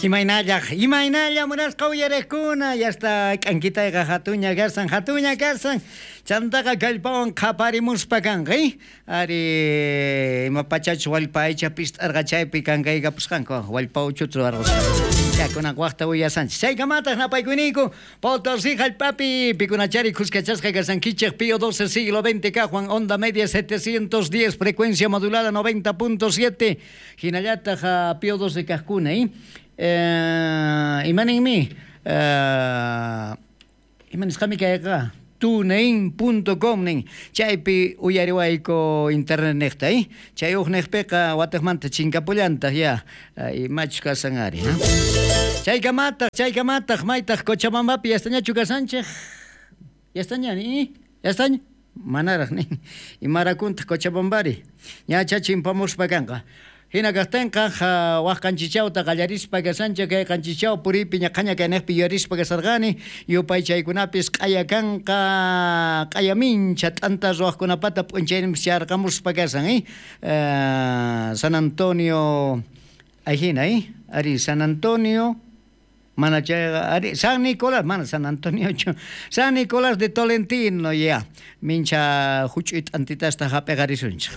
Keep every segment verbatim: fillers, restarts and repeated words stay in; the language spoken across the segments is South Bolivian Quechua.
Imaynalla, imaynalla munasqa uyariqkuna, yasta k'ankitayqa hatuña karsan, hatuña karsan, chantaqa kallpawan qhaparimuspa kanqa, ari ima pachachus wallpa aycha pist'arqa chaypi kankaykapusqanku, wallpa uchuta ruwarqusqa. Kunan waqta uyasanchis. Chaykamataq napaykuyniku, Potosí hallp'api pikunachari khuskachasqa kasankichik Pío doce siglo veinte kaqwan onda media setecientos diez frecuencia modulada noventa punto siete hinallataq Pío doce kaqkuna, eh? Eh, imaninmi eh, imanisqami kayqa tunein punto com nin chaypi uyariwayku internet niqta, eh? Chay uj niqpiqa wataqmanta chinkapullantaq ya imachus kasan ari, ha? Chaykamataq, chaykamataq maytaq Cochabambapi yastañachu kasanchik? Yastaña ni? Yastaña? Manaraq nin. Imarakuntaq Cochabambari? Ñacha chimpamuspa kanqa. Hina kaqtinqa waq qanchichawta qallarispa kasanchik kay qanchichaw puriypi ñaqhaña kayniqpi yuyarispa kasarqani yupaychaykunapis q'aya kanqa q'aya mincha t'anta ruwaqkunapata p'unchayninpis charqamuspa kasan, eh? Uh, San Antonio ahina, eh? Ari San Antonio mana chayqa ari San Nicolás mana San Antoniochu San Nicolás de Tolentino ya mincha huch'uy t'antitasta hap'iqarisunchik.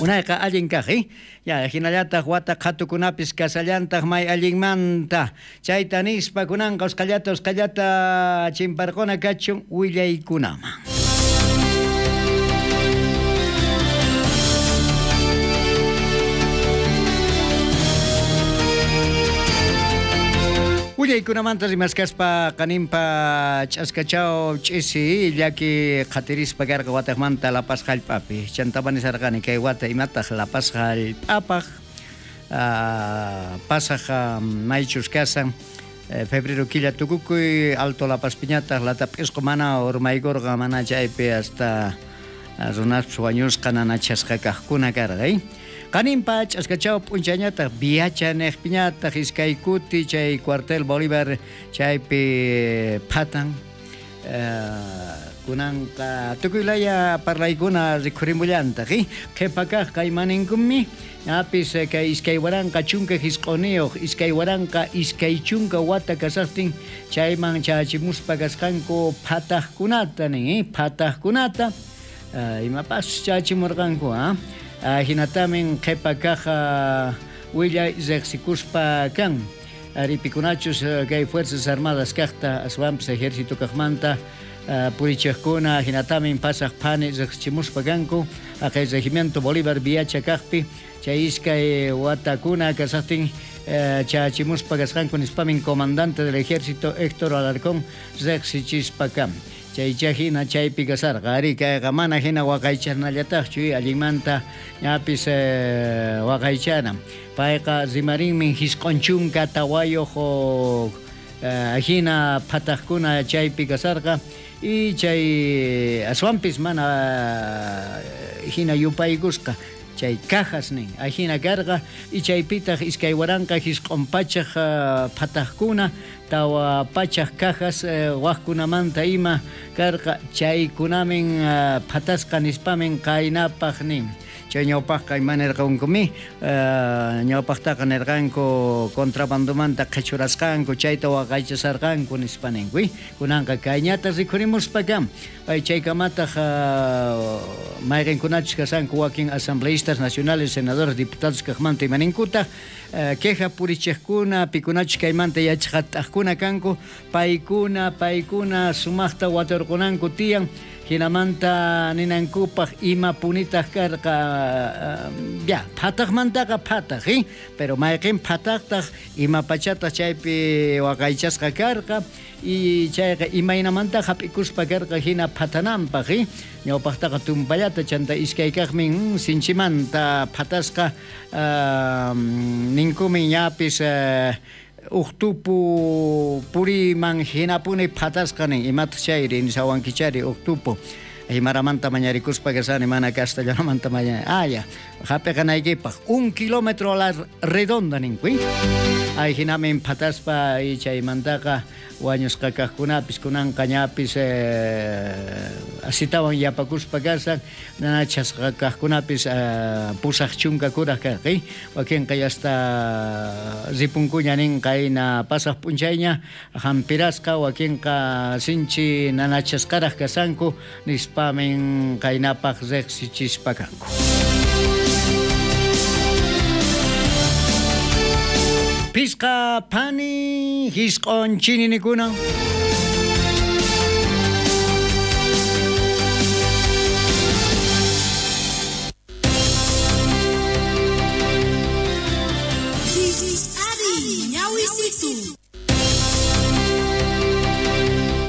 Unayqa allin kaq, eh? Ya hinallataq wata qhatukunapis kasallantaq may allinmanta. Chayta nispa kunanqa usqhallata usqhallata chimparquna kachun willaykunaman. Willaykunamanta rimaskaspa qaninpa ch'askachaw ch'isi llaki qhatirispa karqa wataqmanta La Paz hallp'api. Chantapa nisarqani kay wata imataq La Paz hallp'apaq pasaq maychus kasan febrero killa tukukuy Alto La Pazpiñataq latap'isqu mana urmaykurqa mana chaypi hasta runaspas wañusqa nanachasqa kaqkuna karqa, eh? Qaninpa ch'askachaw p'unchañataq Viacha niqpiñataq iskay kuti chay cuartel Bolívar chaypi phatan kunanqa tukuylaya parlaykuna rikhurimullantaq, eh? Qhipa kaqqa imaninkunmi ñapis kay iskay waranqa chunka hisq'uniyuq iskay waranqa iskay chunka wata kasaqtin chayman chachimuspa kasqanku phataqkunata nin, eh? Phataqkunata imapas chachimurqanku, ha? Hinatamin qhipa kaq willay riqsikuspa kan aripikunachus kay Fuerzas Armadas kaqta aswanpis ejército kaqmanta purichiqkuna hinatamin pasaq phani riqsichimuspa kanku aqay regimiento Bolívar Viacha kaqpi chay iskay watakuna kasaqtin chachimuspa kasqanku nispamin comandante del ejército Héctor Alarcón riqsichispa kan. Chaycha hina chaypi kasarqa ari kayqa mana hina waqaychanallataqchu allinmanta ñapis waqaychana payqa rimarinmin hisq'un chunka tawayuq hina phataqkuna chaypi kasarqa y chay aswanpis mana hina yupaykusqa chay cajas nin ajina karqa y chaypitaq iskay waranqa hisq'un pachaq phataqkuna tawa pachaq cajas waqkunamanta ima karqa chaykunamin phatasqa nispamin qaynapaq nin. Chay ñawpaqqa ima nirqankumi ñawpaqtaqa nirqanku contrabandomanta qhichurasqanku chayta waqaychasarqanku nispa ninku, kunanqa kayñata rikhurimuspa kan chaykamataq mayqinkunachus kasanku wakin asambleístas nacionales senadores diputados kaqmanta ima ninkutaq queja purichiqkuna pikunachus kaymanta yachaqat'aqkuna kanku paykuna paykuna sumaqta waturqunanku tiyan hinamanta ninankupaq ima punitaq karqa ya phataqmantaqa phataq, eh? Pero mayqin phataqtaq ima pachataq chaypi waqaychasqa karqa y chayqa imaynamanta hap'ikuspa karqa hina phatananpaq, eh? Ñawpaqtaqa tumpallata chanta iskay kaqmin sinchimanta phatasqa uh, ninkumin ñapis uh, uqtupu puriman hinapuni phatasqa nin imataq chayri nisawankichari uqtupu aymaramanta mañarikuspa kasani mana castellanomanta maña ah ya Hap'iqanaykipaq un kilómetro a la redonda ninku. Ay hinamin phataspa chaymantaqa wañusqa kaqkunapis kunanqa ñapis eh, asitawan yapakuspa kashan nanachasqa kaqkunapis eh, pusaq chunka kuraq karqi wakinqa yasta ripunkuña ninqa hina pasaq p'unchayña hampirasqa wakinqa sinchi nanachasqaraq kasanku nispamin qaynapaq riqsichispa kanku. Pisqa pani hisq'on chininikuna.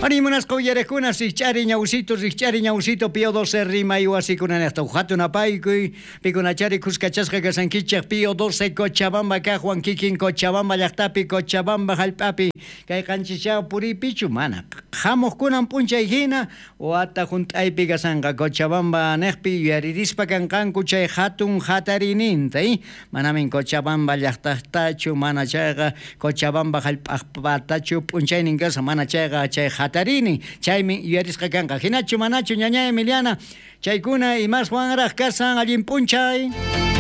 Ari munasqa uyarekuna rikch'ari ñawsito rikch'ari ñawsito Pío doce rimay wasikuna niqta hatun apaykuy pikunachari kuskachasqa kasankichik Pío doce Cochabamba kaqwan kikin Cochabamba llaqtapi Cochabamba hallp'api kay qanchischaw puriypichu mana hamuqkunan p'unchay hina wata hunt'aypi kasanqa Cochabamba niqpi yuyaririspa kanqanku chay hatun hatariyninta manamin Cochabamba llaqtaqtachu mana chayqa Cochabamba hallp'aqpatachu p'unchaynin kasan mana chayqa chay hatarini chaymi yuyarisqa kanqa hinachu manachu ñaña Emiliana chaykuna imaswanraq kasan allin p'unchay.